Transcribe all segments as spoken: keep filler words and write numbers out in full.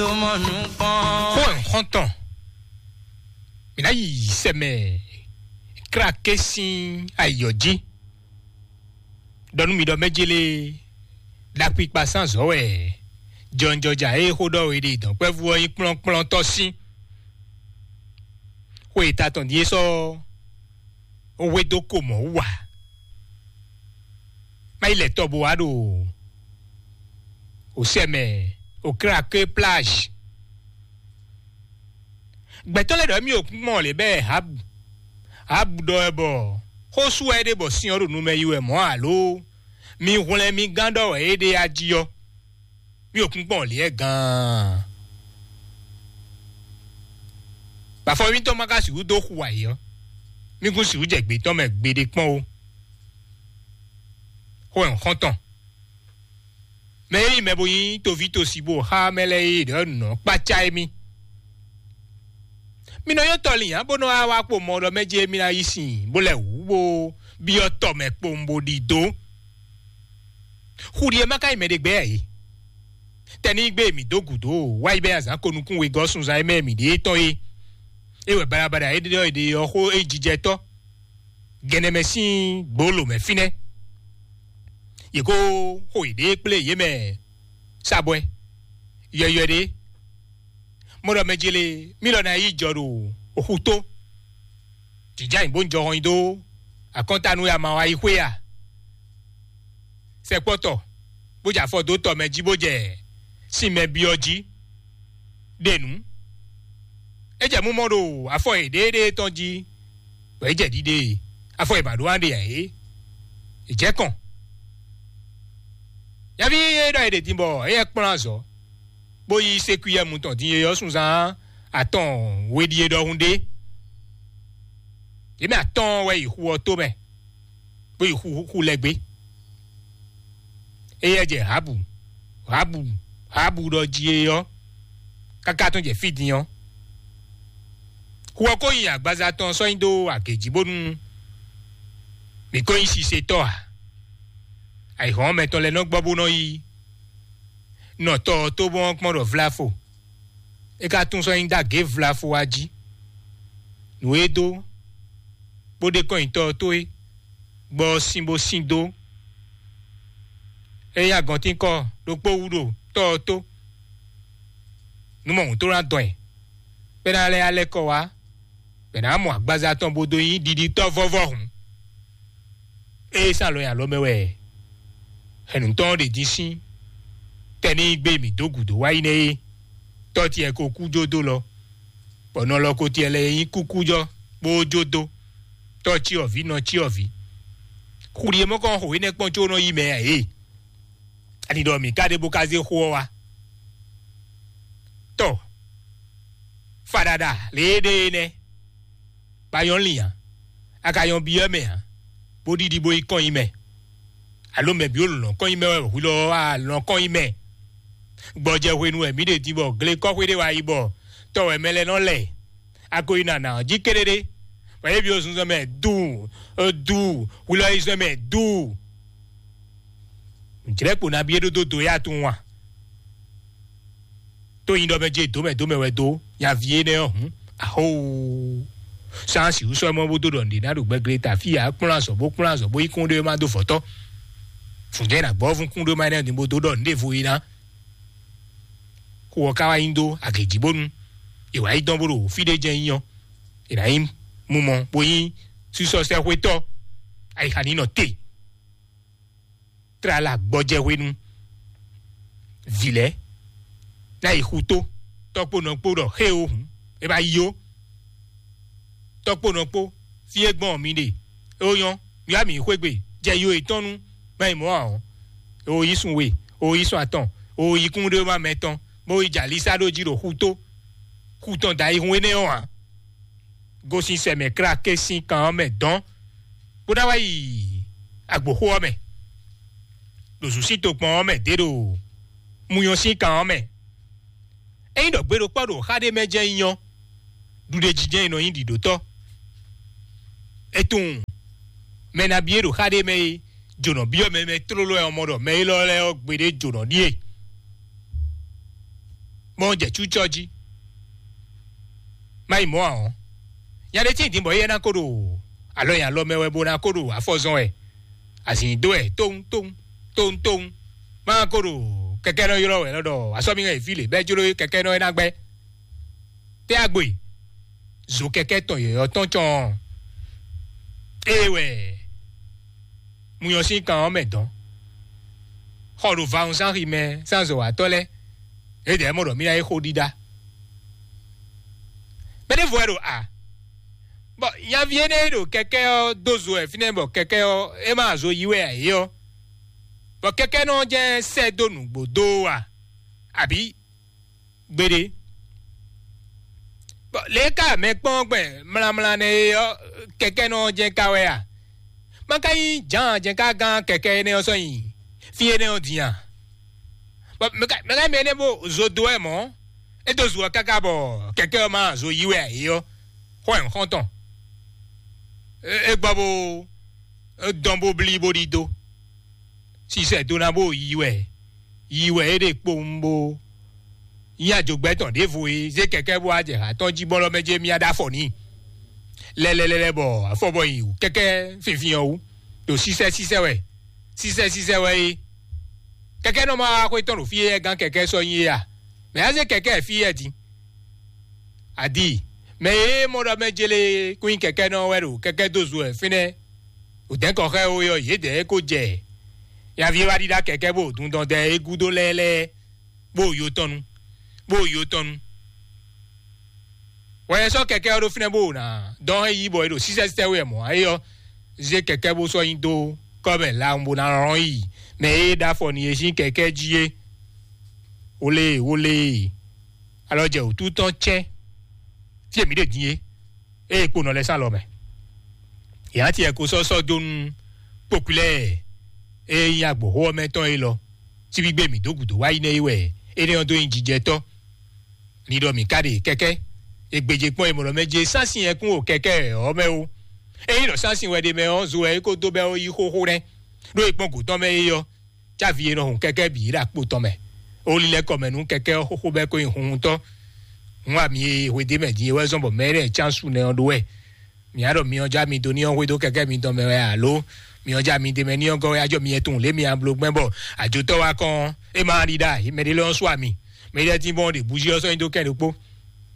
Xó ɛ xɔ́ntɔn, mǐ ná yi sɛmɛ kláké sín ayǐyɔ jí. Ɖɔ nú mi ɖɔ mɛjélé ɖakpikpa sín azɔ̌ wɛ jɔnjɔja e xó ɖɔ we ɖe dɔ̌nkpɛvú ɔ́ nyí kplɔ́nkplɔ́ntɔ́ sín. Xwe e ta tɔn ɖíe sɔ́ ó hwedó ko mɔ̌ wú ǎ. Má yi lɛ tɔ bó wá ɖo òsɛ mɛ, òkláké plage. Gbɛtɔ́ lɛ́ɛ ɖɔ mì o kpɔ́n lě bɛ́ Habu. Habu ɖɔ wɛ bɔ xó sú wɛ é ɖe bɔ sin ɔ́ ɖo nu mɛ yi wɛ mɔ̌ alo mi hwlɛ́n mi gán ɖɔ wɛ é ɖe a jí ɔ́. Mì o kpɔ́n lě ɛ gaan. Bafɔ mitɔn ma ka sixú dó xu ayǐ ɔ́, mì kún sixú jɛ gbětɔ́ mɛ gbeɖé kpɔ́n ó. Xó ɛ xɔ́ntɔn. Mɛ e nyí mɛ bo nyí toví tosi bó xá mɛ lɛ́ɛ e ɖɔ nǔ nɔ kpácá émí. Mi nɔ nyɔ́ tɔ lin ǎ bó nɔ wá wá kpo mɔ ɖɔ mɛ jí émí ná yí sin bó lɛ́ wǔ bó byɔ́ tɔ mɛ kpowun bó ɖidó. Xu ɖi e má ka nyí mɛ ɖé gbɛ́ ǎ é. Tɛ ní gbé mǐ dó gǔdo wá yi bɛ́ azǎn ko nukún wegɔ́ sunzán e mɛ mǐ ɖe tɔn é. É wɛ baɖabaɖa e ɖɔ è ɖe ɔ́ xó é jijɛ tɔ́. Gɛnɛ mɛ sín gbolo mɛ fínɛ́. Yě kó xo yěɖée kplé yě mɛ sabwɛ yɔywɛ ɖé. Mɔ ɖɔ mɛ jele mí lɔ ná yi jɔ ɖo oxu tó. Jǐjá nyi bó ń jɔ hɔn nyi dó akɔ́ntanu e ama wa yi xwé a? Sɛkpɔ́tɔ bó jɛ afɔ dó tɔ mɛ jí bó jɛ sin mɛ byɔ́ jí ɖe nǔ. É jɛ mú mɔ ɖo afɔ yěɖée tɔn jí bɔ é jɛ ɖiɖe. Afɔ e ba ɖó aɖe ǎ é. È jɛ kɔn. Nyaví e ɖɔ è ɖe din bɔ éyɛ́ kplɔ́n azɔ̌ bó yí sékúyɛ́mu tɔn din e ɔ́ sunzán atɔn we ɖíe ɖɔhun ɖé. Yě mɛ atɔ́ɔ́n wɛ yi xu ɔ́ tó mɛ, bó yi xu xu lɛ́ gbé. Éyɛ́ jɛ Habu, Habu, Habu ɖɔ jí é ɔ́, káká tɔn jɛ fí din ɔ́. Xu ɔ́ ko nyi agbaza tɔn sɔ́ nyi dó agě jí bónú mǐ ko nyí sisetɔ́ ǎ. Ayǐhɔ́n mɛtɔn lɛ́ɛ nɔ gbɔ bó nɔ yi nɔ tɔ ɔ́ tó bɔn kpɔ́n ɖɔ vlafo. É ka tún sɔ́ nyi dó agě vlafo wá jí. Nǔ e dó bó ɖe kɔn nyitɔ́ ɔ́ tó é, gbɔ ɔ́ sín bó sín dó. É nyí agɔntínkɔ ɖokpó wú ɖo tɔ́ ɔ́ tó. Nú mɔ hǔn tó ná dɔn ɛ, bɔ é ná lɛ́ alɛ́ kɔ wá, bɔ è nǎ mɔ agbaza tɔn bó dó nyí ɖiɖitɔ́ vɔ́vɔ́ hǔn. Ée sán alɔ nyi alɔ mɛ wɛ hɛ̌nnutɔ́ ɔ́ ɖe din sín tɛ́ ní gbé mǐ dó gǔdo wá yi nɛ́ é, tɔ́ tiɛ ko kú jó dó lɔ, bɔ nɔ lɔ ko tiɛ lɛ́ɛ nyí kúkújɔ́ bó jó dó, tɔ́ cyɔ́vǐ nɔ cyɔ́vǐ. Xu ɖi e mɔ kɔn xo énɛ́ kpɔ́n có nɔ yí mɛ ǎ é. Ani ɖɔ mǐ ka ɖe bó ka zé xó ɔ́ wá? Tɔ, faɖaɖa lě e ɖe é nɛ́. Ba nyɔ́ lin ǎ, a ka nyɔ́ byɔ́ mɛ ǎ, bó ɖiɖi bó yi kɔn nyi mɛ. Alo mɛ bǐ wo lɔ̌n kɔn nyi mɛ wɛ hwi lɔ wá lɔ̌n kɔn nyi mɛ. Gbɔjɛ hwenu wɛ mǐ ɖe din bɔ glekɔ́xwé ɖé wá yi bɔ tɔ wɛ mɛ lɛ́ɛ nɔ lɛ. A ko yi nana ɔ́ jí kéɖéɖé, bɔ yě byɔ́ zunzɔn mɛ duu, duu, hwi lɔ yi zɔn mɛ duu. Jlɛ̌kpo nabí é ɖó dó do yá tunwun a? Tó nyi ɖɔ mɛ jí dǒmɛ dǒmɛ wɛ dó nyaví énɛ́ ɔ́ hǔn, ahóo. Sánsì wú sɔ́ mɔ bó dó ɖɔ nǔɖé ná ɖo gbɛglé ta fí ǎ, kplɔ́n azɔ̌ bó kplɔ́n azɔ̌ bó yí kún ɖé má dó vɔ̌tɔ́. Fǔnjɛ́n ná gbɔ́ fún kún ɖé má nɛ́ din bó dó ɖɔ nǔɖé vo é ná. Xu ɔ́ ka wá nyi dó agě jí bónú è wǎ yi dɔn bó ɖo fí ɖé jɛ́n nyí ɔ́, è nǎ nyí mumɔ bó nyí sísɔ́sɛ́xwétɔ́. Ayixa ní nɔ te. Tlala gbɔjɛ hwenu. Vǐ lɛ́ɛ ná yi xutó, tɔ́kpónɔ kpó ɖɔ xé o hǔn, é ba yi ó. Tɔ́kpónɔ kpó, fí e gbɔn mi ɖe, é ó nyɔ́, mi wá mǐ xwé gbe, jɛ yo yětɔn nu, má yi mɔ̌ ǎ ɔ́, é ó yí sun we, é ó yí sun atɔn, é ó yí kún ɖé má mɛ tɔn, bó yi jɛ alísá ɖó jí ɖo xutó. Xu tɔn da yi hun énɛ́ ɔ́ ǎ. Gosín sɛ mɛ kláké sín kan ɔ́ mɛ dɔn, bó ná wá yi agboxó ɔ́ mɛ, ɖo zǔsín tokpɔn ɔ́ mɛ dě ɖo munyɔ sín kan ɔ́ mɛ. Ényí ɖɔ gbe ɖokpɔ́ ɖo xá ɖé mɛ jɛ́n nyí ɔ́, ɖuɖéjijɛ e nɔ nyí ɖiɖǒtɔ́. É tunwun mɛ nabí e ɖo xá ɖé mɛ é jǒnɔ byɔ́ mɛ mɛ tlóló wɛ ɔ́ mɔ ɖɔ mɛ élɔ́ lɛ́ɛ ɔ́ gbeɖé jǒnɔ ɖíe. mɔ jɛ cúcɔ jí. Má yi mɔ̌ ǎ ɔ́, nya ɖé tíin din bɔ éyɛ́ ná ko ɖo alɔ nyi alɔ mɛ wɛ bó ná ko ɖo afɔ zɔn wɛ. Azǐn dó wɛ tóun tóun tóun tóun. Má ko ɖo kɛkɛ́nɔ ylɔ́ wɛ lɔ ɖɔ asɔ́míhɛn e fí lě bɛ́ jló kɛkɛ́nɔ e ná gbɛ́. Tɛ́ agbo e zo kɛkɛ́ tɔn yɔ̌yɔ́ tɔn cɔn ɔ́, ée wɛ mu nyɔ sín kan ɔ́ mɛ dɔn. Xɔ ɖo vawunzánxi mɛ sánzɔ̌watɔ́ lɛ́ɛ, é dɛ̌ mɔ ɖɔ mí ná yí xó ɖíɖá. Mɛ ɖěvo wɛ ɖo a, bɔ nyaví énɛ́ e ɖo kɛkɛ́ ɔ́ dó zo wɛ fínɛ́ bɔ kɛkɛ́ ɔ́ é má zo yí wɛ ǎ é ɔ́, bɔ kɛkɛ́nɔ ɔ́ jɛ́n sɛ́ dó nǔgbó dó ɔ́ a, abǐ gbeɖé. Bɔ lě e ka mɛ kpɔ́n gbɛn mlamla nɛ é ɔ́, kɛkɛ́nɔ ɔ́ jɛ́n ka wɛ a? Má ka nyí Jǎan jɛ́n ka gán kɛkɛ́ énɛ́ ɔ́ sɔ́ nyi fí énɛ́ ɔ́ din a? Bɔ mɛ ka mɛ ka mɛ énɛ́ bó zo dó wɛ mɔ̌, é dó zo ɔ́ káká bɔ kɛkɛ́ ɔ́ má zo yí wɛ ǎ é ɔ́, xó wɛ un xɔ́n tɔn. É gbɔ bó dɔn bó blí bó ɖidó. Sisɛ dó ná bó yi wɛ, yi wɛ é ɖe kpowun bó nyí ajogbɛ́ tɔn ɖěvo e zé kɛkɛ́ bó wá jɛ hǎ tɔn jí bɔ́lɔ́ mɛ jɛ mía ɖó afɔ n'i. Lɛlɛlɛlɛ bɔ afɔ bɔ nyi wǔ kɛkɛ́ finfin ɔ́ wú, ɖo sísɛ́ sísɛ́ wɛ, sísɛ́ sísɛ́ wɛ é. Kɛkɛ́ nɔ ma wá xwé tɔn ɖo fí e gán kɛkɛ́ sɔ́ nyi é a? Mɛ á zé kɛkɛ́ fí yɛ din. Adi, mɛ e mɔ ɖɔ mɛ jele kún nyi kɛkɛ́ nɔ wɛ ɖo kɛkɛ́ dó zo wɛ fínɛ́. Wǒdɛ́nkɔ xá e ó yɔ yědɛɛ ko jɛ nyaví e wá ɖíɖá kɛkɛ́ bó dundɔn dɛ é gúdo lɛ́ɛ lɛ́ɛ, bó yo tɔn nu, bó yo tɔn nu. Wɛ sɔ́ kɛkɛ́ ɔ́ ɖó fínɛ́ bó ná dɔn hɛn yí bɔ é ɖo sísɛ́sísɛ́ wɛ mɔ̌ ǎ é ɔ́, zé kɛkɛ́ bó sɔ́ nyi dó kɔ́ mɛ lawun bó ná lɔn yi mɛ e ɖó afɔ n'i e sín kɛkɛ́ jí é. Wole wole, alɔ jɛ wǔtu tɔn cɛ́n fí e mǐ ɖe din é, ée kponɔ lɛ́ɛ sín alɔ mɛ. Yě ná tiɛ ko sɔ́ sɔ́ dó nú kpokpilɛ e nyí agbǒxó ɔ́ mɛ tɔn élɔ́. Síbígbé mǐ dó gǔdo wá yi nɛ́ é wɛ énɛ́ ɔ́ dó nyí jijɛtɔ́. Ni ɖɔ mǐ ka ɖe kɛkɛ́, è gbějé kpɔ́n è mɔ ɖɔ mɛ jɛ sánsin yɛkún o kɛkɛ́ ɔ́ mɛ ó. Ényí ɖɔ sánsin wɛ ɖe mɛ ɔ́, zo wɛ é ko dó bɛ́ ó yí xóxó nɛ́, ɖó è kpɔ́n gǔ tɔn mɛ é ɔ́, cávi e nɔ hun kɛkɛ́ bǐ ɖo akpo tɔn mɛ. Ó lílɛ́ kɔ mɛ nú kɛkɛ́ ɔ́ xóxó bɛ́ kó nyi hunhuntɔ́. Hun ami e hwedó mɛ din é wɛ zɔ́n bɔ mɛ énɛ́ cán su nɛ ɔ́ ɖó wɛ. Mǐ á ɖɔ myɔ já mi dó ní ɔ́ hwedó kɛkɛ́ mitɔn mɛ wɛ alo myɔ já mi d'é mɛ ní ɔ́ gɔ́ wɛ á jɔ mi yɛ tunwun lě mi a bló gbɛn bɔ àjotɔ́ wá kɔn é ma ɖi ɖa mɛ ɖé lɔ ɔ́ sú ami. Mɛ ɖé tín bɔn ɖe bǔjí ɔ́ sɔ́ nyi dó kɛn ɖokpó.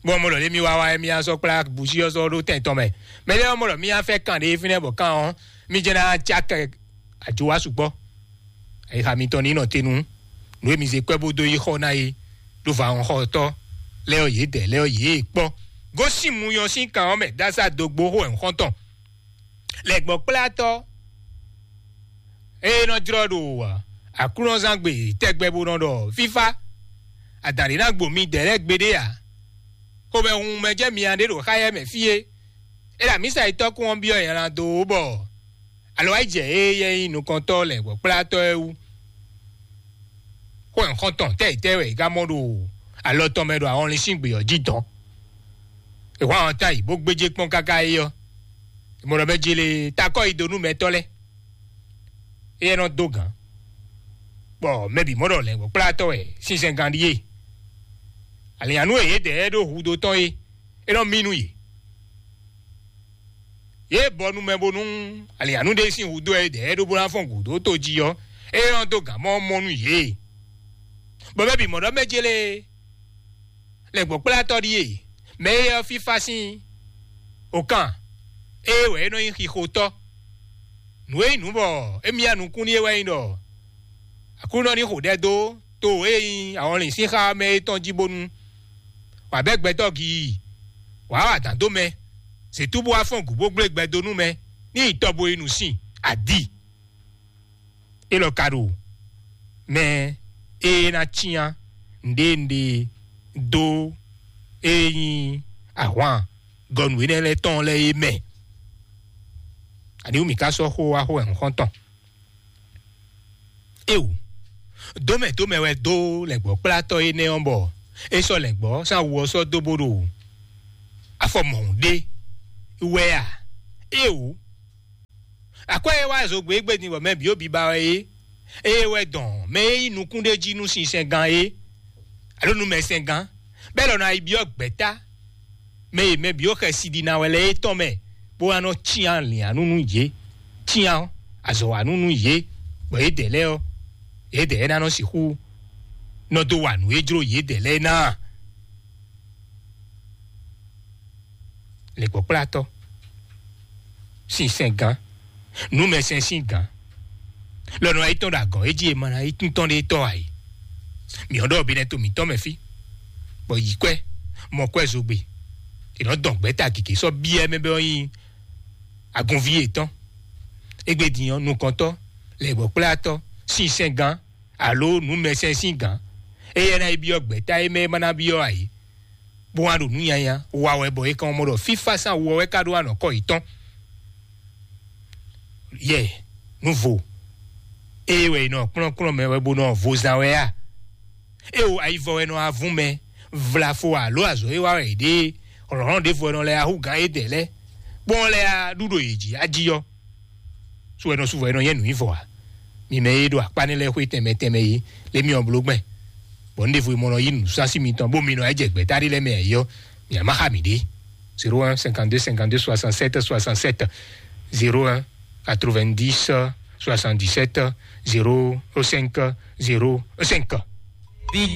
Bɔn mɔ lɔ lě mi wá wá é mi á sɔ́ kplá bǔjí ɔ́ sɔ́ ɖó tɛn tɔn mɛ. Mɛ ɖé ɔ́ mɔ lɔ mi á fɛ kan ɖé fínɛ́ bɔ kan ɔ́ mi jɛ ná cá kɛ àjò wá sukpɔ́. Ayixa mitɔn ní nɔ te nú nǔ e mi zé kwɛ́ bó dó yi xɔ ná é ɖó vǎ xɔxɔtɔ́ lɛ́ɛ ɔ́ yě dɛ lɛ́ɛ ɔ́ yě kpɔ́. Gosín mu nyɔ sín kan ɔ́ mɛ dásá dogbo xó ɛ̌nxɔ́ntɔn. Lɛ̌gbɔ́kplátɔ́ e nɔ jlɔ́ ɖo aklúnɔzángbe tɛgbɛ bó nɔ ɖɔ fífá, adǎn ɖé ná gbo midɛɛ lɛ́ɛ gbeɖé ǎ. Xomɛhunhun mɛ jɛ mia ɖé ɖo xáyɛ mɛ fí é. É ɖo amǐsa yi tɔ́kún ɔ́ byɔ́ nylá dó bɔ alɔ wá yi jɛ é yɛ nyí nukɔntɔ́ lɛ̌ngbɔ́kplátɔ́ é wú. Xó nyǐxɔ́ntɔn tɛ́yǐtɛ́ wɛ è ka mɔ ɖo alɔ tɔn mɛ ɖo ahɔnlin sín gbě ɔ́ jí dɔn. È hwán ɔ́ ta yi bó gbéjé kpɔ́n káká é ɔ́, è mɔ ɖɔ mɛ jele takɔ́ yi dó nú mɛtɔ́ lɛ́ɛ. Éyɛ́ nɔ dó gǎn, bɔ mɛ bǐ mɔ ɖɔ lɛ̌ngbɔ́kplátɔ́ wɛ sinsɛngán ɖíe. Alǐnnyánú e yědɛɛ ɖó hudó tɔn é, é nɔ mí nú yě. Yě bɔ nu mɛ bónú alǐnnyánú ɖé sín hudó e ɖɛ̌ ɖó bó ná fɔ́n gǔdo tó jí ɔ́, é nɔ dó gǎn mɔ mɔ nú yě. Bɔ mɛ bǐ mɔ ɖɔ mɛ jélé lɛ̌ngbɔ́kplátɔ́ ɖíe, mɛ e ɔ́ fífá sín okan, ée wɛ é nɔ nyí xixotɔ́. Nǔ e nyí nǔ bɔ émí ya nukún n'i é wɛ nyí ɖɔ Aklúnɔ ní xo ɖɛ dó to e nyí ahɔnlin sín xá mɛ é tɔn jí bónú wǎ bɛ́ gbɛtɔ́ gii, wǎ wa dǎn dó mɛ, zětú bó wá fɔ́n gǔ bó gblé gbɛ dó nú mɛ ní yi tɔ bo yi nǔ sin adi. Élɔ́ ka ɖo mɛ e ná cyán nǔɖé nǔɖé dó e nyí ahwan gɔnu énɛ́ lɛ́ɛ tɔn lɛ́ɛ é mɛ. Aniwú mǐ ka sɔ́ xó wá xó wɛ nǔ xɔ́ntɔn? Éwú, dómɛ dómɛ wɛ dó lɛ̌ngbɔ́kplátɔ́ énɛ́ ɔ́ bɔ é sɔ́ lɛ̌ngbɔ́ sín awu ɔ́ sɔ́ dó bó ɖo afɔ mɔ̌hun ɖé wɛ a? Éwú, akwɛ́ e wá zogbé gbé din bɔ mɛ bǐ ó biba wɛ é, ée wɛ dɔn mɛ e nyí nukún ɖé jí nú sinsɛngán é, alo nú mɛsɛngán, Bɛ́ lɔ ná yi byɔ́ gbɛ̌ta mɛ e mɛ bǐ xɛsi ɖi ná wɛ lɛ́ɛ é tɔn mɛ, bó wá nɔ cyán lǐannú nú yě, cyán azɔ̌wanú nú yě, bɔ yědɛɛ lɛ́ɛ ɔ́, yědɛɛ ná nɔ sixú nɔ dó wa nǔ e jló yědɛɛ lɛ́ɛ ná. Lěkpɔ́kplátɔ́ sínsɛ́n gán, nǔmɛsɛn sín gán, lɔ nɔ yi tɔn ɖo agɔ̌n é jí e ma ná yi tún tɔn ɖé tɔ́ ǎ é. Mǐ ɔ́ ɖɔ binɛ to mǐtɔn mɛ fí, bɔ yi kwɛ́ mɔ kwɛ́ zogbe, è nɔ dɔn gbɛ̌ta gěgé sɔ́ byɔ́ mɛ bɔ nyí agunví yětɔn. Égbé din ɔ́, nukɔntɔ́, lɛ̌gbɔ́kplátɔ́, sínsɛ́n gán, alo nǔmɛsɛn sín gǎn, éyɛ́ ná yi byɔ́ gbɛ̌ta e mɛ e ma ná byɔ́ ǎ é, bó wá ɖo nǔ nyanya wa wɛ, bɔ é kàn mɔ ɖɔ fífá sín awu ɔ́ wɛ ka ɖó anɔ̌kɔ yětɔn. Yɛ nǔvo ée wɛ è nɔ kplɔ́nkplɔ́n mɛ wɛ bó nɔ vo zán wɛ a? É o ayivɔ wɛ nɔ avún mɛ, vlafo alo azɔ̌ e wa wɛ è ɖe é, hlɔ̌nhlɔ́n ɖěvo wɛ nɔ lɛ́ ahú gǎn édɛɛ lɛ́ɛ, bó nɔ lɛ́ ɖu ɖo yě jí ají ɔ́, sú wɛ nɔ sú vɔ è nɔ nyɛ nǔ nyi vɔ ǎ. Mi mɛ e ɖo akpá nɛ́ lɛ́ɛ xwé tɛnmɛ tɛnmɛ é, lé mi ɔ́ bló gbɛn, bɔ un ɖěvo e mɔ nɔ yí nǔsásí mitɔn bó mi nɔ jɛ gbɛ̌ta ɖé lɛ́ɛ mɛ ǎ é ɔ́, mi ǎ má xa mǐ ɖě. Zéro un cinquante-deux cinquante-deux soixante-sept soixante-sept, zéro un quatre-vingt-dix soixante-dix-sept zéro cinq zéro cinq.